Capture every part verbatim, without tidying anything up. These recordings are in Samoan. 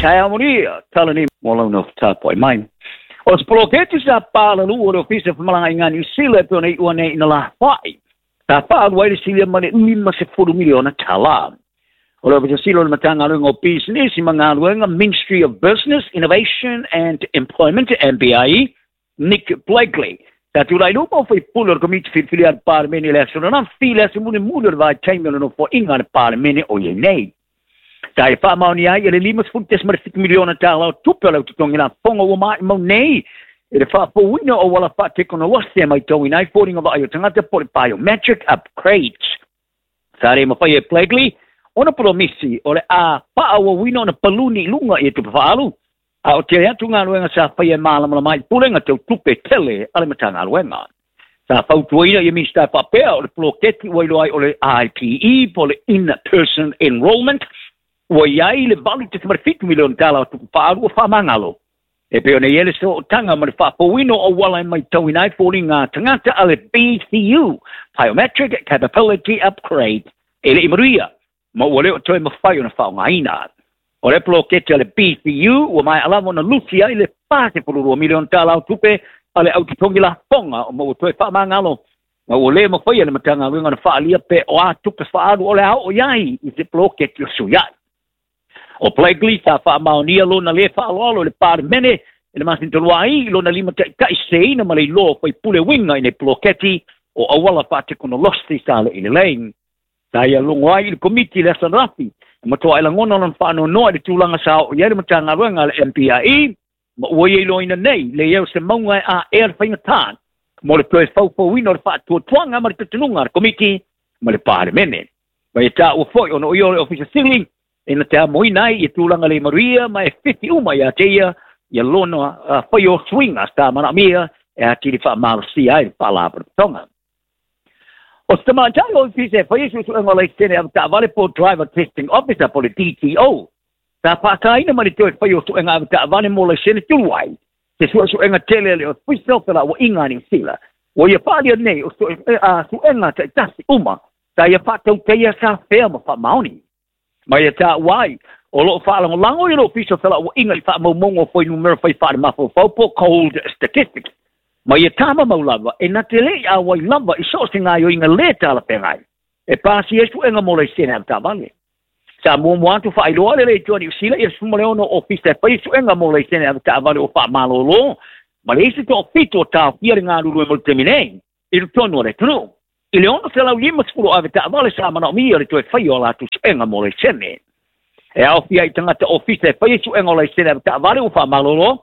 Tauria, talani mo launa tāpoi mai. O se poloketi sa pālalu o le ofisa whamalanga i ngā New Zealand pe ona i ua nei ina la whai. Sa pālu ai le silia ma le lima se fulu miliona tala. O le ofisa silo le matanga o business i mangaluenga Ministry of Business, Innovation and Employment, M B I E, Nick Blakely. Ta tūrai lupa o whaipule o le komiti whiriwhiri a le Pāremene le aso nana while aso mune mune o le vai taimi o le nofo inga le Pāremene o ie nei. Ta e whaamaoni ai e le lima sefulu tesima le fitu miliona tāla o tupe o le ututongi la fonga ua mai mau nei. E le whaapouina o wala whaatekonolosi e mai tauina ai fōringa vai o tangata po le biometric upgrades. Sa re mawhai e Blakely, ona promisi o le a whaawawina ona paluni lunga i e tupe whaalu. A o te atu ngā luenga sa whai e mālamala mai pulenga tau tupe tele ale mata ngā luenga. Sa fautuaina i Minista Papea o le poloketi ua iloa ai o le I P E po le In-Person Enrollment ua iai le valu tesima le fitu miliona tala o tupe whaalu o whaamangalo. E peo nei ele so o tanga ma le whaapouino o wala e mai tauina ai fōri ngā tangata a le B C U, Biometric Capability Upgrade, e le imaruia, ma ua leo toe mawhai o na whaongaina. O le poloketi a le B C U, ua mai alama na lusi ai le whase pururua miliona tala o tupe a le aututongi la fonga o maua toe whaamangalo. Ma ua le mawhai a le matanga winga na whaalia pe o a tupe whaalu o le ao o iai i te poloketi o sui ai. O Blakely sa whaamaonia lona le whaaloalo le Pāremene e le masin tolu ai lona lima ta'itai seina ma le iloa faipule winga i nei poloketi o auala faatekonolosi sa le i le lei. Sa ia logo ai i le komiti le aso ananafi e matoa e lagona lona faanoanoa i le tulaga sa oo i ai le matagaluega a le M P I E ma ua ia iloaina nei le ia o se mauga e aea le faigatā mo le toe faufauina o le faatuatuaga ma le tatanuga a le komiti ma le Pāremene. Ma ia tāua foi ona o ia o le ofisa sili e na te amoina ai i tulaga le maruia ma e whiti uma ia te ia ia lona uh, whai o suinga sa manaomia e atili faamalosia ai le faalapotopotoga. O se tamaitai o ofisa e whai suesuega o laisene a taavale po Driver Testing Officer po le D T O. Sa whaakaina ma le toe whai o suega a taavale mo laisene tulu ai. Te suesuega tele le ofisa o pela ua inga ni sila. Ua ia whaalia nei o suega taitasi uma sa ia whaatauteia sa whea ma whaamaoni. Ma ia tā wai, o loo whaalangolango i lo ofisa o pela ua inga i whaamaumongo whai numero whai whaare mawhawhau po cold statistics. Ma ia tāma maulava, e na te lei a wai lava i so se ngā yo inga le tāla pengai. E pāsi e suenga mo laisene a tāvale. Sa mua mua atu whaailoa le le tuani usila i sumaleono ofisa e pai suenga mo laisene a tāvale o whaamalolo. Ma le isi tō fito o tāwhia le ngā ruru e mo le temi nei, i rutonu o le tunu. I le ono se lau lima sefulu ave taavale sa manaomia le toe whai o lātou suenga mo laisene. E aofia i tangata ofisa e whai suenga o laisene ave taavale o whaamalolo.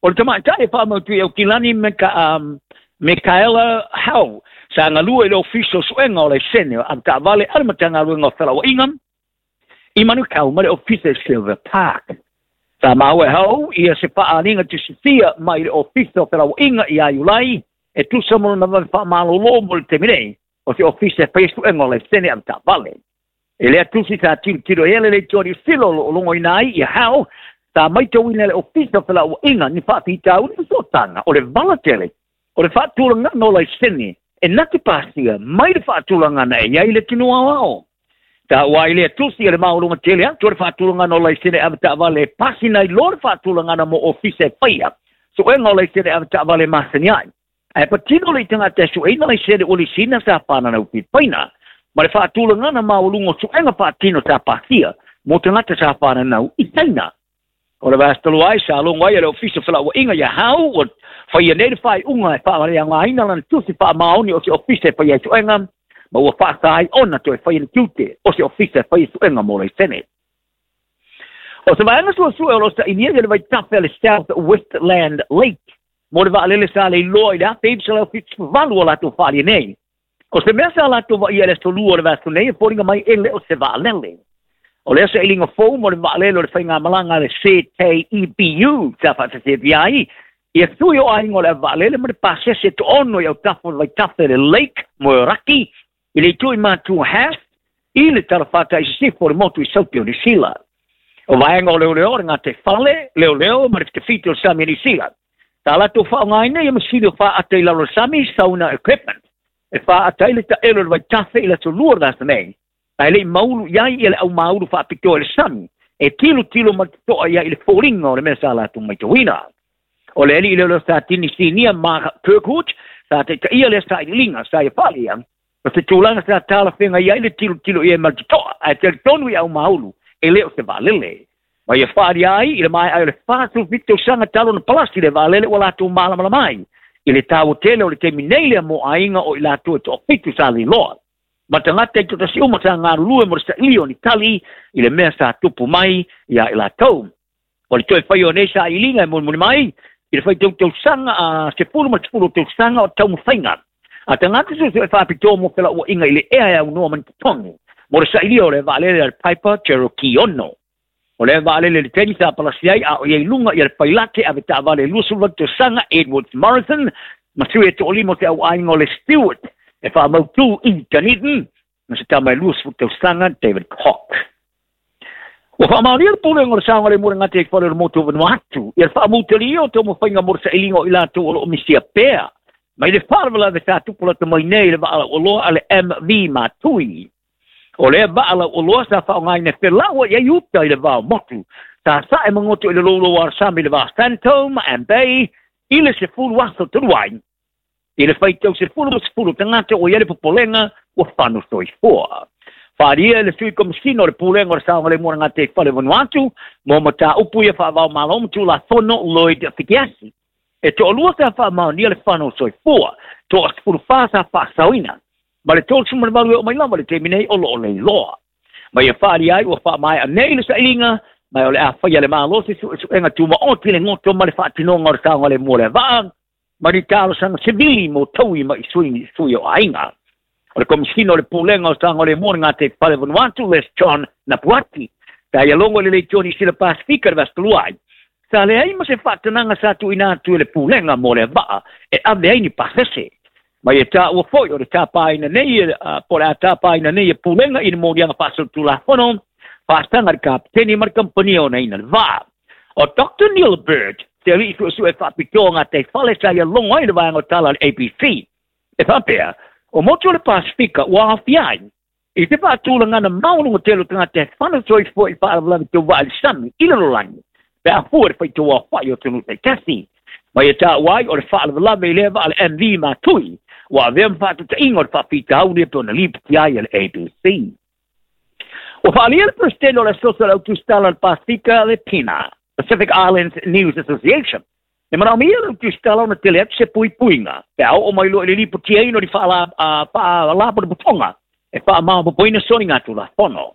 O le tamaitai e whaamautui au kilani me ka, um, Michaela Howe sa ngalua i le ofisa o suenga o laisene ave taavale ale matagaluega o felauaiga i Manukau ma le ofisa e Silver Park. Sa maua e Howe ia se faaaliga tusifia mai le ofisa o felauaiga ia Iulai e tusa mo lona vave faamalolo mo le taimi nei o se ofisa e whai suenga o laisene ave taavale. E lea tusi sa tilotilo ele le tuani silo o logoina ai ia Howe sa maitauina le ofisa o felauaiga ni faafitauli fesootanga o le valatele o le faatulagana o laisene e na te pasia mai le faatulagana e iai le tino aoao. Ta ua i lea tusi e le maoluga tele atu o le faatulagana o laisene ave taavale e pasina i lo le faatulagana mo ofisa e faia suega o laisene ave taavale masani ai. Ae patino le itagata e sueina laisene o lisina sa whanana upipaina ma le faatulagana maoluga o suega faatino sa pasia mo tagata sa whananau i taina. O le vastalo ai sa logo ai e le ofisa felauaiga ia Hau o whaia nei le whaiunga e whaamaleagaina lana tusi faamaoni o se ofisa e whaia i suega ma ua whaasa ai ona toe whaia le tiute o se ofisa e whaia i suega mo laisene. O se vaega suasue o lo sainia ia le vaitafe a le South Westland Lake mo le vaalele sa le iloa i le afe iwa selau fitu valu o latou whaalia nei. O se mea sa latou vaia le aso lua o le vaaso nei e fōringa mai e le o se vaalele. O lea se ilinga fou mo le vaalele o le whaingamalanga le C T E B U sa whaatasepi ai ia sui o aiga o le vaalele ma le pasese toono i autafa o le vaitafe le Lake Moeraki i le itu i mātua Haast i le talafata i sisifo o le motu i Sauti o Niu Sila. O vaega o leoleo o le ngā te fale, leoleo ma le fitafiti o le sami o Niu Sila. Tā latou whaongaina ia masini o whaata i lalo sami sauna equipment. E whaata i le taelo le vaitafe i le aso lua o le vasa nei. Ae lei maulu iai ia le au maulu whaapitoa i le sami. E tilo tilo ma toa ia i le foliga o le mea sa latou maitauina. O le alii lea o sa tini sinia Mark Kirkwood, sa taitaia lea sailiiliga sa ia faaalia, o se tulaga sa talafeagai ai le tilotilo i ai ma le totoa, ae talitonu i aumaulu e le o se vaalele. Ma ia faaalia ai i le maea ai o le fasefulufitu tausaga talu ona palasi le vaalele ua latou malamalama ai i le taua tele o le taimi nei lea mo aiga o i latou e toafitu sa leiloa. Ma tagata i totasi uma sa galulue mo le sailia o ni tali i le mea sa tupu mai ia i latou. O le toe fai o nei sailiga e mulimuli mai i le faitautausaga a sefulu ma sefulu tausaga o taumafaiga a tagata suesue faapitoa mo felauaiga i le ea e aunoa ma ni totogi mo le sailia o le vaalele a le Piper Cherokee ono. O le vaalele le taimi sa palasi ai a o iai luga ia le pailate ave taavale e luasefuluvalu tausaga Edward Morrison ma sui e toalima o se auaiga o le Stewart e faamautū i Dunedin ma se tama e luasefulu tausaga David Cock. Ua faamaonia le pulega o le saogalemu o le gata i fale o le motu o Vanuatu ia le faamutalia o taumafaiga mo le sailiga o i latou o loo misia pea mai le faalavelave sa tupu lata mai nei le vaa lauoloa a le M V Matui. O lea vaa lauoloa sa faaaogaina e felaua i ai uta i le vao motu sa sae magoto i le loulou alasami i le va Santo ma Ambay i le sefulu aso talu ai. I le faitau sefulu ma sefulu tagata ua i ai le popolega ua fano soifua. Faaalia e le sui komisina o le pulega o le saogalemu o le gata i fale o Vanuatu mo mataupu ia faavao malo ma tulafono Lloyd Fikiasi. E toalua sa faamaonia le fano soifua, toa sefulu fa sa faasaoina, ma le tolu ma le valu e oo mai lava le taimi nei o loo leiloa. Ma ia faalia ai ua faamaea nei le sailiga, ma o le a faia le malo se suesuega tumaoti le goto ma le faatinoga o le saogalemu o le vaa, ma ni talosaga sevili mo taui ma i sui, sui o aiga. O le komisina o le pulega o saogalemu o le gata i fale o Vanuatu, Les John Napuati, sa ia logo i le leitio Sila Pasifika le vasi ai. Sa leai ma se faatanaga sa tuuina atu e le pulega mo le vaa e ave ai ni pasese. Ma ia taua foi o le tapaina nei, uh, po o le a tapaina nei e pulega i le moliaga faasolitulafono, faasaga le kapiteni ma le kampania o naina le vaa. O Doctor Neil Bird, te alii suesue faapitoa gata i fale sa ia logo ai le vaega o tala a le A B C. E faapea, o motu o le Pasifika ua aafia ai i te faatulagana maualuga tele o tagata e fano soifua i faalavelave tauvaa i le sami i le lalolagi pe afua le faitau aofai o atunuu taitasi. Ma ia taua ai o le faalavelave i lea vaa le M V Matui ua avea ma faatutaiga o le faafitauli e pe ona lipoti ai a le A B C. Ua faaalia le Presidente o le Asoso o le Autusitala o le Pasifika le PINA, Pacific Islands News Association. E manaomia le autusitala ona tele atu se puipuiga pe a oo mai loa i le lipotiaina o ni faalapotopotoga e faamaopoopoina soligatulafono.